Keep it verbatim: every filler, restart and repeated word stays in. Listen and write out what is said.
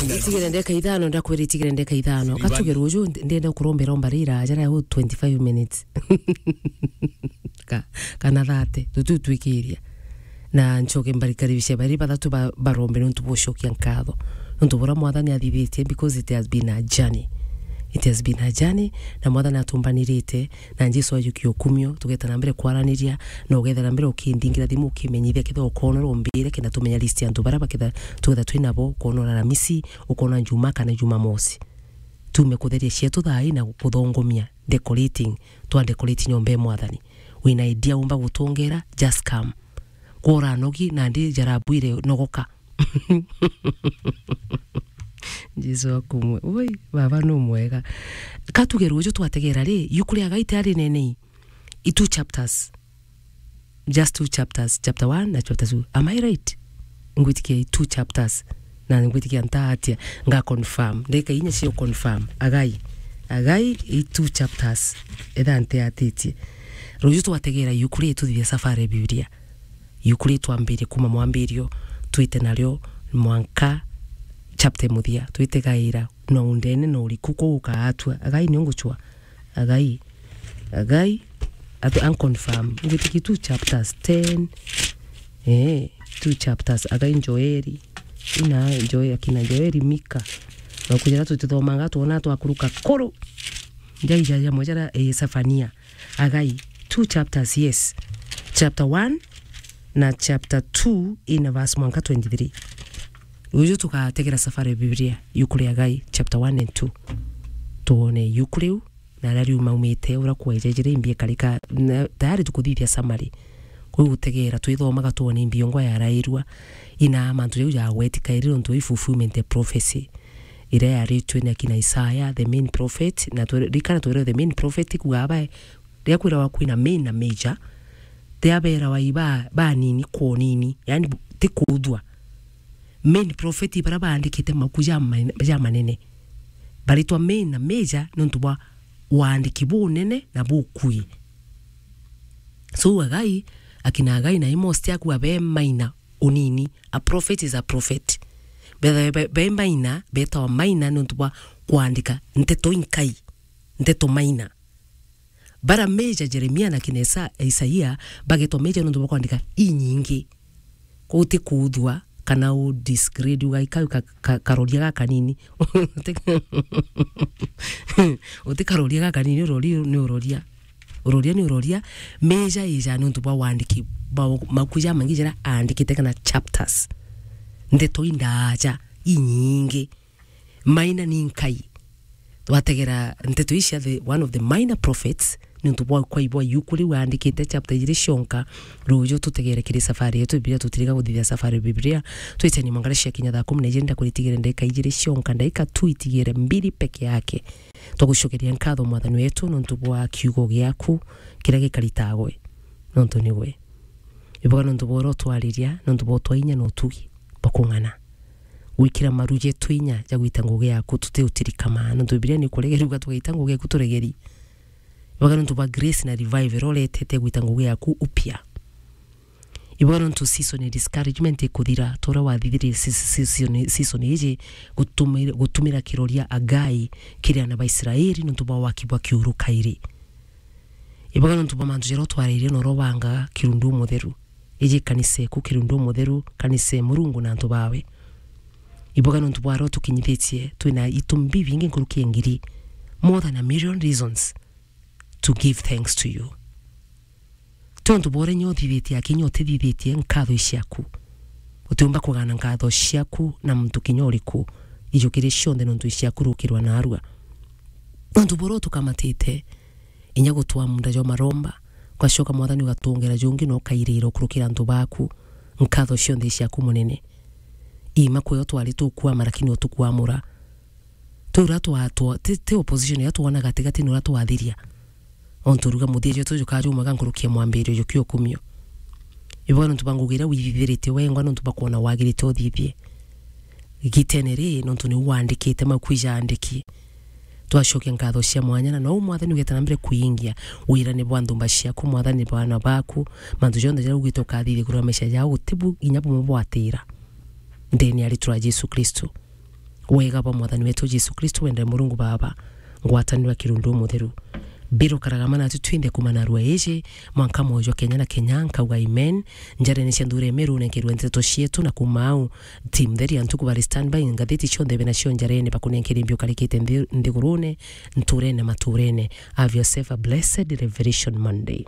Itigire ndeka ithano, ndakwira itigire ndeka ithano. Katuge ruju, ndenda kurombera omba rira, jara u twenty-five minutes. Ka-, kana thirty, tutu twikiria. Na nchoke mbarikaribishe bari bathatu ba-, barombe nontu bwa gucokia nkatho. Nontu bura Mwathani athithitie, because it has been a journey. It has been a journey, na Mwathani atumbanirite, na Jesu ajukia ukumio, tugeta na mbere kwaraniria, na ugethera mbere ukindingira thimu, ukimenyithia, kethira ukonora umbire, kenda tumenya list ya antu bara baketha, tugetha twi nabo, ukonora Aramisi, ukona Juma kana Jumamosi. Tume kutheria cietu thaa ii na kuthongomia, decorating, twa decorate nyomba ya Mwathani. Wina idea umba gutongera, just come. Kura nogi, nandi jarabu ire nogoka. Jesu akumwe. Ui, baba nu mwega. Katuge ruju twategera ri, yuku ria Agai tiari nenei. I two chapters. Just two chapters, chapter one na chapter two. Am I right? Ngwitikia i two chapters. Na ngwitikia nta atia, nga confirm. Ndeka inya cio confirm. Agai. Agai i two chapters. Etha nteatitie. Ruju twategera yuku ri tuthithia safari ya Biblia. Yuku ri twambirie kuma mwambirio, twite nario mwanka chapter muthia, twite gaira, no undene no uriku kuu ukaatua. Agai ni unguchwa. Agai. Agai. Atu unconfirm. Ngwitiki two chapters, ten. Eh, two chapters. Agai Joeli. Ina Joeli, akina Joeli, Mika. Na kujira tutithomanga, tuona twakuruka kuru. Njai ja jamwe jara, eh, Sefania. Agai, two chapters, yes. Chapter one na chapter two in verse mwanka twenty-three. Ruju tugategera safari ya Biblia, yuku ria Agai, chapter one and two. Tuone yuku riu, na aria riu maumite, uria kwaijejire imbi ikarika, na tayari tukuthithia summary. Kwi gutegera, twithomaga tuone imbi yongwa yarairua, ina mantu jau jagwetikairi nontu i fulfillment ya prophecy iria yaritue ni akina Isaya, the main prophet, na twere-, rikana twere the main prophet kuga aba, riria kwirawa kwina main na major, ti aberawa i ba, banini kwa unini, yani bu-, ti kuthua. Main prophet i baria baandikite mabuku ja ma-, ja manene. Baritwa main na major nontu bwa waandiki bunene na bukui. So Agai, akina Agai na Amos ti akuga be minor unini. A prophet is a prophet. Be, be, be minor, betawa minor nontu bwa kwandika nteto inkai, nteto minor. Bara major, Jeremia na kina Isa-, Isaia, bagetwa major nontu bwa kwandika inyingi. Koguo ti kuthua kana u disgrade ugaika ka, ka, karoria gakanini. Uti karoria gakanini, urori ni uroria. Uroria ni uroria, major ija nontu bwa wandiki, ba, mabuku ja mangi jara aandikite kana chapters. Ndeto indaaja, inyingi. Minor ni nkai. Twategera nteto ici cia the, one of the minor prophets, nontu bwa kwai bwa yuku riu aandikite chapter ijiri cionka, ruju tutegere kiri safari yetu Biblia, tutiriga kuthithia safari Biblia. Twiteni mwangara cia kinya thaa kumi na ijiri, ndakuritigire ndagika ijiri cionka, ndagika tu itigire mbiri peke yake. Twagucokeria nkatho Mwathani wetu nontu bwa kiugo giaku kiria gikaritagwe, nontu nigwe. Ibuga nontu bwa uria utwariria, nontu bwa utwa inya na utugi bwa kung'ana. Gwikira maru jetu inya ja gwita ngugi yaku, tuti utirikama, nontu Biblia ni kuregeria uga tugaita ngugi yaku turegeri. Ibuga nontu bwa grace na revival iria uretete gwita ngugi yaku upya. Ibuga nontu season ya discouragement ikuthira, ta uria wathithirie si-, si-, season, season iji gutumira, gutumira kiroria Agai kiri ana ba Israeli nontu bwa waki bwa kiuru kairi. Ibuga nontu bwa mantu jaria utwaririe na uria ubangaga kirundu umutheru. Iji kanisa eku kirundu umutheru, kanisa e Murungu na antu bawe. Ibuga nontu bwa aria utukinyithitie, twina itumi bibingi nkuruki ya ngiri, more than a million reasons to give thanks to you. Ti untu bwa uria inya uthithitie aki inya utithithitie, nkatho i ciaku. Utiumba kugana nkatho ciaku na muntu kinya uriku. Ijukirie cionthe nontu i ciaku rukirwa narua. Nontu bwa uria utukamatite, inya gutwaa munda jwa maromba, ugacoka Mwathani ugatwongera jungi na ukairira ukurukira antu baku. Nkatho cionthe i ciaku Munene. Iima kwio twari tukwama, lakini utukwamura. Ti uria twa-, twa-, ti, ti opposition iria twona gatigati ni uria twathiria. Ontu uruga muthia jwetu jukajumaga nkuruki ya mwambirio jukia ukumio. Ibuga nontu bwa ngugi iria withithirite wengwa, nontu bwa kwona wagirite uthithie. Gitene ri, nontu niu wandikite, mabuku ijaandiki. Twacokia nkatho cia mwanya, na nou Mwathani ugeta na mbere kwingia wirane bwa nthumba ciaku, Mwathani, bwa ana baku, mantu jonthe jaria ugite ukathithia kurwa maisha jao, guti bu inya bumwe bwatira. Ndene ya ritwa ria Jesu Kristo. Wega bwa Mwathani wetu Jesu Kristo, wende Murungu Baba, ngwataniro ya Kirundu Mutheru, birukaraga mana tu twinthe kumana rua iji, mwanka mwoyo Kenya na Kenya, nkauga amen. Njarene cia nthuri ya Meru, nenkerwe nteto cietu, na kuma au, team theri ya ntuku bari standby, ngathiti cionthe bena cio njarene, bakunenkere mbio karikite nthi-, nthigurune, nturene, maturene. Have yourself a blessed Revelation Monday.